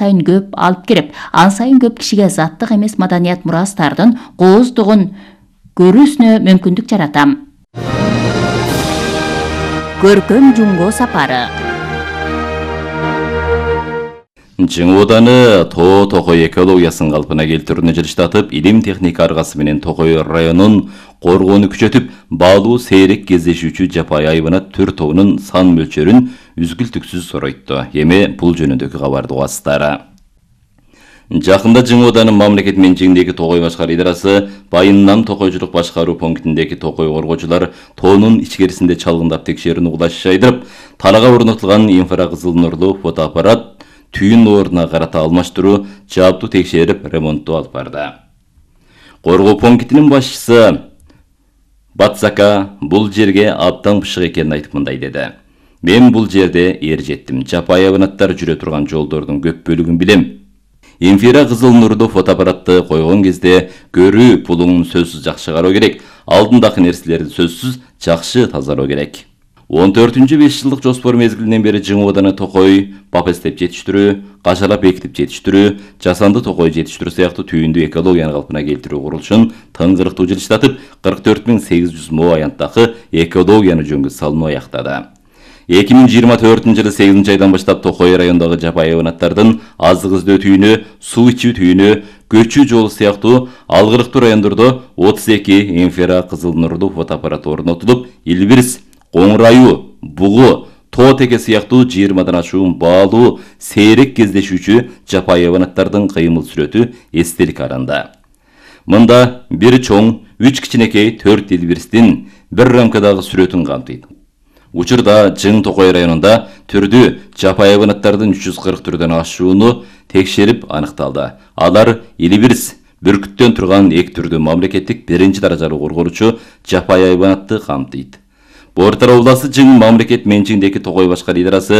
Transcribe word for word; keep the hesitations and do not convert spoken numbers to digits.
сайын көп алып кирип, ан сайын көп кишиге заттык эмес маданият мурастардын кооздугун көрүүсүнө мүмкүндүк жаратам. Көркөм Жумго сапары. Жың Ооданы Тоо Токой экологиясын калпына келтирүүнү жылыштатып, илим техника аргасы менен Токой районун коргоону күчөтүп, баалуу сейрек кездешүүчү жапайы айванат түр тобунун сан мөлчөрүн үзгүлтүксүз соройту. Эми бул жөнүндөгү кабарды угасыздар. Жакында Жың Ооданы мамлекет менчигиндеги Токой башкаруу идарасы Байыннан токойчулук башкаруу пунктиндеги Токой коргоочулар тоонун ичкерисинде чалгындап текшерүүнү угулаш жайдырып, талага орнотулган инфракызыл нурлуу фотоаппарат түйүн ордуна карата алмаштыруу, жааптуу текшерип, ремонттоо алып барды. Коргоо пунктинин башчысы Батсака бул жерге абдан бышык экенин айтып мындай деди. Мен бул жерде эр жеттим. Жапайы айванаттар жүрө турган жолдордун көп бөлүгүн билем. Инфракызыл нурдуу фотоаппаратты койгон кезде көрүү пулуңун сөзсүз жакшы кароо керек. Алдындагы нерселерди сөзсүз жакшы тазалоо керек. он төртүнчү беш жылдык жоспор мезгилинен бери Жың Ооданы Токой папестеп жетиштирүү, кашалап бекитип жетиштирүү, жасанды токой жетиштирүү сыяктуу түйүндүү экологияны калпына келтирүү курулушун тыңгырыктуу жылыштатып, кырк төрт миң сегиз жүз мо аянттагы экологияны жөнгө салууну аяктады. эки миң жыйырма төртүнчү жылы сегизинчи айдан баштап Токой райондогу жапайы айванаттардын азык издөө түйүнү, суу ичүү түйүнү, көчүү жолу сыяктуу алгырыктуу райондордо отуз эки инфракызыл нурлуу фотоаппарат орнотулуп, Илбирс, Коңрайуу, Бугу, Тоо Теке сыяктуу жыйырмадан ашуун баалуу сейрек кездешүүчү жапайы айванаттардын кыймыл сүрөтү эстелик аранда. Мында бир чоң, үч кичинекей, төрт Илбирстин бир рамкадагы сүрөтүн камтыйт. Учурда Жың Токой районунда түрдүү жапайы айванаттардын үч жүз кырк түрдөн ашууну текшерип аныкталды. Алар Илбирс, бүркүттөн турган эки түрдүү мамлекеттик биринчи даражалуу корголуучу жапайы айванатты камтыйт. Бортар обласы Жың мамлекет менчигиндеги Токой башкаруу идарасы